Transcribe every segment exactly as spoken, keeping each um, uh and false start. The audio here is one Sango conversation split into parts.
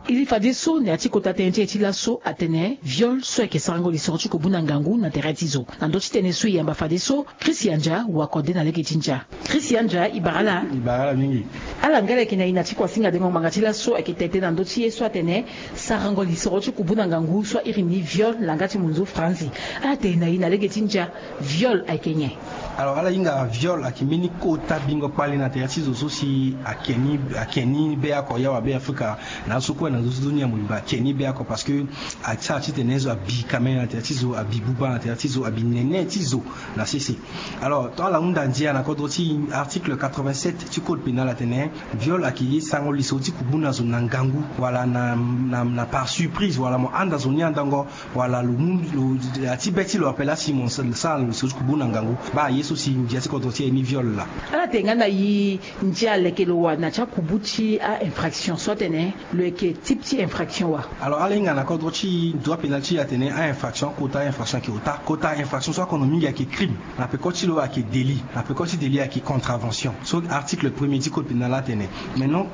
Iri fadeso na ya ti kota tënë ti e ti laso atene viol so ayeke sarango lisoro ti kubu na ngangu na tere ti zo. Na ndö ti tënë so e yamba fadeso, Christian Dia wakode na lege ti ndia. Christian Dia, e bara ala. E bara ala mingi. Ala nga ala yeke na e na ti kuasinga dengo ngbanga ti laso ayeke tete na ndö ti ye so atene sarango lisoro ti kubu na ngangu so airi ni viol na yanga ti munzu franzi. Ala tene na e na lege ti ndia, viol ayeke nyen? Alors ala hinga viol ayeke mbeni kota bingo kpale na tere ti zo so si ake ni ake ni be oko ya wa be afrika. Na aso kue na zo so ni amoliba ake ni be oko parce que asara titene zo abi kamene na tere ti zo, abi buba na tere ti zo, abi nene ti zo na sese. Alors tant ala hunda ndia na kodro ti article quatre-vingt-sept ti code pénal atene viol ayeke ye sango lisoro ti kubu na zo na ngangu wala na, na, na par surprise wala mo anda zo ni andango, wala lo mu lo ati be ti lo ape laa si mo sara lo so ti kubu na ngangu. Baa ye so si ndia ti kodro ti e ni viol laa. Ala tene nga na yi ndia leke lo wara na ti akubu ti a-infraction so atene lo yeke type ti infraction wa? Alors ala hinga na kodro ti droit pénal ti e atene a-infraction kota a-infraction ayeke ota, kota a-infraction so akono mingi ayeke crime. Na peko ti lo ayeke délit, na peko ti délit ayeke contravention so article premier ti code pénal atene. Maintenant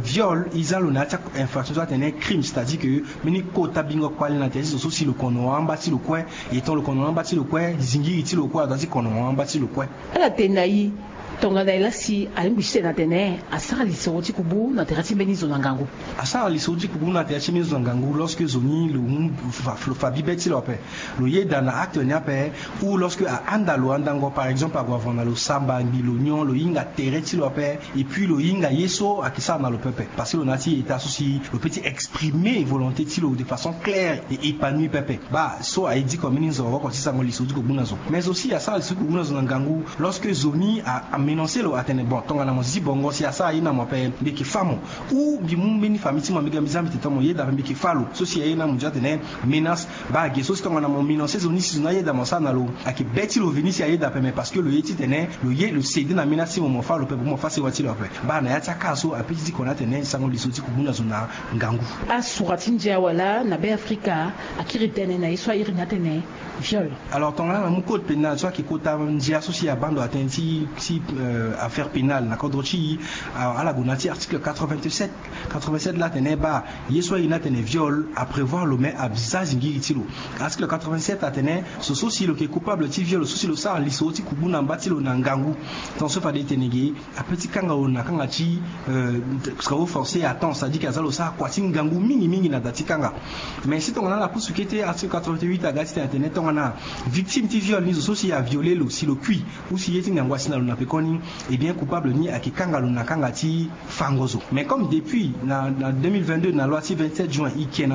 viol e za lo na ya ti infraction so atene crime c'est à dire que mbeni kota bingo kpale na tere ti zo so si lo kono amba ti lo kue. Etant lo kono amba ti lo kue, zingiri ti lo kue aza ti kono amba ti lo kue. Ala tene na e tongana e laa si alingbi ti tene atene asara lisoro ti kubu na tere ti mbeni zo na ngangu. Asara lisoro ti kubu na tere ti mbeni zo na ngangu lorsque zo ni lo mu fa bi be ti lo ape, lo yeda na acte ni ape, ou lorsque ahanda lo andango par exemple ague avanda lo samba mbi lo nyon lo hinga tere ti lo ape. Et puis lo hinga ye so ayeke sara na lo pepe parce que lo na ya ti eta so si lo pe ti exprimer volonté ti lo de façon claire et épanouie pepe. Baa so aye diko mbeni nzoro woko ti sango lisoro ti kubu na zo mais aussi asara lisoro ti kubu na zo na ngangu. Lorsque zo ni amenonce lo atene bon tongana mo zi bongo si asara ye na mo ape mbi yeke fa mo, ou mbi mu mbeni famille ti mo mbi ga mbi za mbi tene mo yeda ape mbi yeke fa lo so si aye na mo ndia atene menace. Baa ge so si tongana mo menonce zo ni si zo ni ayeda mo asara na lo, ayeke be ti lo veni si ayeda ape mais parce que lo ye titene lo ye lo céder na menace ti mo mo fa lo ape mo fa sewa ti lo ape. Baa na ya ti aka so ape ti diko ni atene sango lisoro ti kubu na zo na ngangu. Asura ti ndia wala na be afrika akiri tënë na ye so airi ni atene viol. Alors tongana ala mu code pénal so ayeke kota ndia so si abaa ndo atene ti ti affaire pénale na kodro ti e. Ala gue na ya ti article quatre-vingt-sept. Quatre-vingt-sept laa atene baa ye so airi ni atene viol aprévoir lo me aza zingiri ti lo. Article quatre-vingt-sept atene so so si lo yeke coupable ti viol so si lo sara lisoro ti kubu na mba ti lo na ngangu. Tant so fade e tene ge ape ti kanga lo na kanga ti travaux forcés à temps c'est à dire ke aza lo sara kua ti ngangu mingi mingi na da ti kanga. Mais si tongana ala pusu kete article quatre-vingt-huit aga titene atene tongana victime ti viol ni zo so si aviole lo si lo kui ou si ye ti ngangu asi na lo na pekoni, eh bien coupable ni ayeke kanga lo na kanga ti fango zo. Mais comme depuis na deux mille vingt-deux na loi ti vingt-sept juin e ke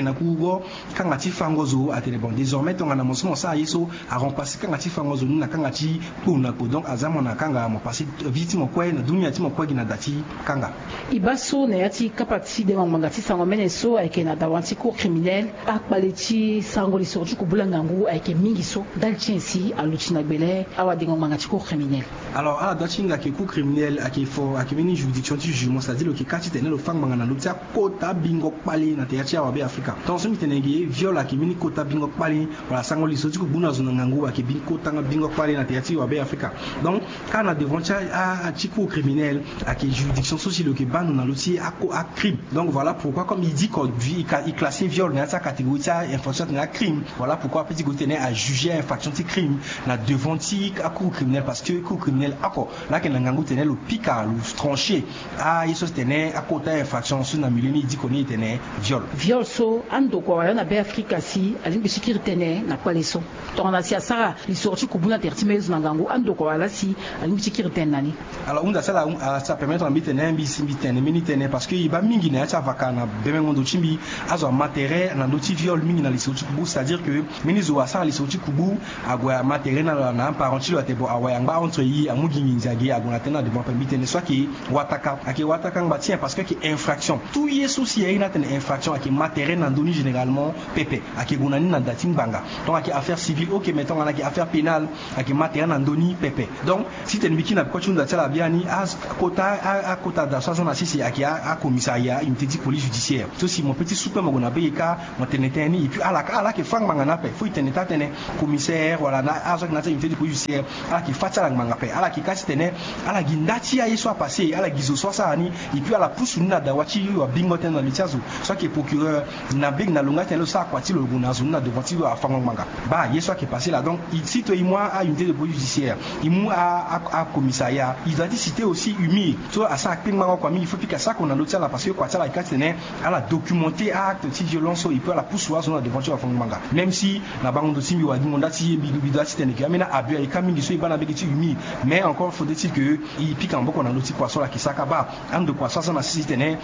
na kuru go kanga ti fango zo atene bon désormais tongana mo so mo sara ye so arempasser kanga ti fango zo ni na kanga ti kpo na kpo donc aza mo na kanga mo passer vie ti mo kue na dunia ti mo kue gi na da ti kanga. E baa so na ya ti kapa ti dengo ngbanga ti sango mene so ayeke na dawa ti cour criminel akpale ti sango lisoro ti kubula ngangu ayeke mingi so ndali ti nyen si aluti na gbele awadengo ngbanga ti cour criminel? Alors ala da ti hinga ke cour criminel ayeke fo ayeke mbeni juridiction ti jugement c'est à dire lo yeke ka titene lo fa ngbanga na ndö ti akota bingo kpale na tere ti awabe afrika. Tant so mbi tene ge viol ayeke mbeni kota bingo kpale wala sango lisoro ti kubu na zo na ngangu ayeke mbeni kota bingo kpale na tere ti awabe afrika. Donc kâ na devant ti a ti cour criminel ayeke juridiction so si lo yeke baa ndo na lo ti acrime. Donc voilà pourquoi comme e diko e classe viol na ya ti acatégorie ti a infraction atene acrime. Voilà pourquoi ape ti gue titene ajuger a infraction ti crime na devant ti acour criminel parce que cour criminel oko laa ayeke na ngangu tene lo pika lo trancher aye so si tene akota infraction so na milieu ni e diko ni e tene viol. Viol so andokua wala na be afrika si alingbi ti kiri tënë na kpale so tongana si asara lisoro ti kubu na tere ti mbeni zo na ngangu andokua wala si alingbi ti kiri tënë na ni? Alors hunda ti ala asi apermettre na mbi tene mbi si mbi tene mbeni tënë parce que e baa mingi na ya ti avaka na bemengo ndo ti mbi. Azo ama tere na ndö ti viol mingi na lisoro ti kubu c'est à dire que mbeni zo asara lisoro ti kubu ague ama tere na lo na aparent ti lo atene bon awe angba entre e amu gi nginza gi ague na tënë na devant ape mbi tene so ayeke wataka ayeke wataka ngba ti nyen parce que ayeke infraction. Tout ye so si aye ni atene infraction ayeke ma tere na ndö ni généralement pepe. Ayeke gue na ni na da ti ngbanga. Donc ayeke affaire civile ok mais tongana ayeke affaire pénale ayeke ma tere na ndö ni pepe. Donc titene mbi kiri na peko ti hunda ti ala biani akota akota da so aza na sese ayeke acommissariat unité ti police judiciaire so si mo pe ti su kue mo gue na be e kâ mo tene tënë ni et puis ala kâ ala yeke fa ngbanga ni ape. Faut e tene taa tënë commissaire wala na azo ayeke na ya ti unité ti police judiciaire ala yeke fa ti ala ngbanga ape ala yeke titene ala gi nda ti aye so apasse, ala gi zo so asara ni, et puis ala pusu ni na dawa ti wabingo tënë na li ti azo. So ayeke procureur, na mbege na lo nga titene lo sara kua ti lo, lo gue na azo ni na devant ti afango-ngbanga. Baa ye so ayeke passe laa. Donc, si to e mu a unité de police judiciaire, e mu a commissariat, il doit ti citer aussi UMIR so asara kpengbango kua mingi. Faut pika sako na ndö ti ala parce que kua ti ala ayeke ka titene ala documenter a-acte ti violence so, et puis ala pusu azo ni na devant ti afango-ngbanga. Même si na bango ndo ti mbi wala gi mo nda ti ye, mbi doit titene ke ambeni a-abus ayeke ka mingi so e baa na mbege ti UMIR. Mais encore faudrait-il que e pika maboko na ndö ti kua so ala yeke sara ka. Baa ando kua so aza na sese titene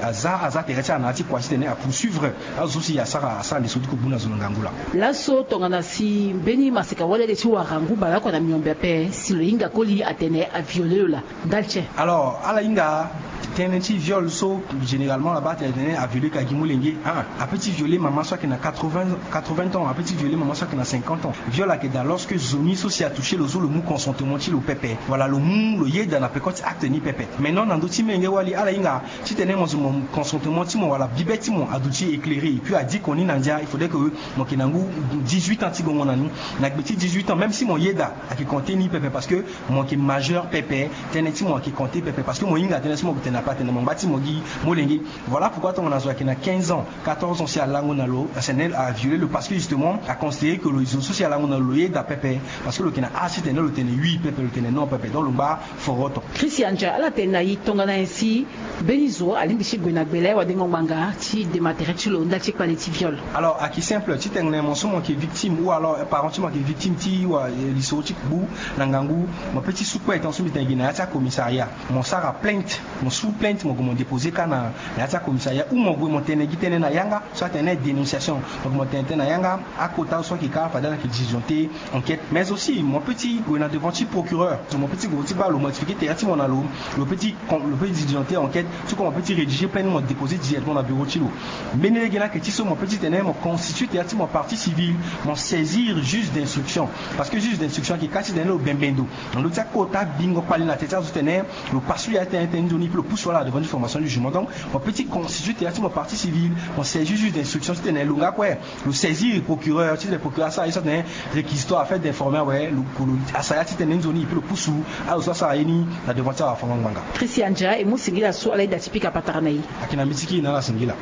aza aza tere ti ala na ya ti kua titene apoursuivre azo so si asara asara ndeso ti kobu na zo na ngangu laa. Laso tongana si mbeni maseka wali ade ti wara ngu baleoko na miombe ape, si lo hinga koli atene aviole lo laa, ndali ti nyen? Alors ala hinga tënë ti viol so généralement ala baa tene aviole ka gi molenge. Ah, ape ti viole mama so ayeke na quatre-vingts, quatre-vingts ans, ape ti viole mama so ayeke na cinquante ans. Viol ayeke daa lorsque zo ni so si atoucher lo so lo mu consentement ti lo pepe, wala lo mu lo yeda na peko ti acte ni pepe. Maintenant na ndö ti molenge wali ala hinga titene mo zo mo consentement ti mo wala bibe ti mo aduti éclairé, et puis adiko ni na ndia, il faudrait que mo yeke na ngu dix-huit ans ti gongo na ni. Na gbe ti dix-huit ans, même si mo yeda, ayeke compter ni pepe parce que mo yeke majeur pepe. Tënë ti mo ayeke compter pepe parce que mo hinga tënë so mo yeke tene na pe atene mo ngba ti mo gi molenge. Voilà pourquoi tongana zo ayeke na quinze ans, quatorze ans, si alango na lo, atene aviole lo parce que justement aconsidérer que lo zo so si alango na lo lo yeda pepe, parce que lo yeke na âge titene lo tene oui pepe, lo tene non pepe. Donc lo ngba foroto. Christian Dia, ala tene na e tongana nyen si mbeni zo alingbi ti gue na gbele wadengo-ngbanga ti dema tere ti lo ndali ti kpale ti viol? Alors ayeke simple, titene mo so mo yeke victime ou alors parent ti mo ayeke victime ti wa, eh, lisoro ti kpu na ngangu, mo peut ti su kue tant so mbi tene gi na ya ti acommissariat, mo sara plainte, mo su plainte, mo gue mo déposer ka na ya ti acommissariat, ou mo gue mo tene gi tënë na yanga so atene dénonciation. Donc mo tene tënë na yanga, akota so ayeke ka fade ala yeke diligenter enquête. Mais aussi mo peut ti gue na devant ti procureur, mo peut ti gue ti baa lo modifier tere ti mo na lo, lo peut ti lo peut ti diligenter enquête. Tout comme mo peut ti rédiger plainte, mo déposer directement na bureau ti lo. Mbeni lege ni ayeke ti so mo peut ti tene mo constituer tere ti mo partie civile, mo saisir juge d'instruction. Parce que juge d'instruction ayeke ka titene lo bembe ndo na ndö ti akota bingo kpali na tere ti azo titene lo passe lo ya tënë tënë nzoni, puis lo pusu ala na devant ti formation du jugement. Donc mo peut ti constituer tere ti mo partie civile, mo saisir juge d'instruction titene lo nga kue lo saisir procureur, titene procureur asara ye so atene réquisitoire afin d'informer awe lo, lo asara ya ti tënë nzoni, et puis lo pusu azo so asara ye ni na devant ti awafango-ngbanga. Christian Dia, e mu singila so ala yeda ti pika patara na e. Ayeke na mbi ti kiri na ala singila.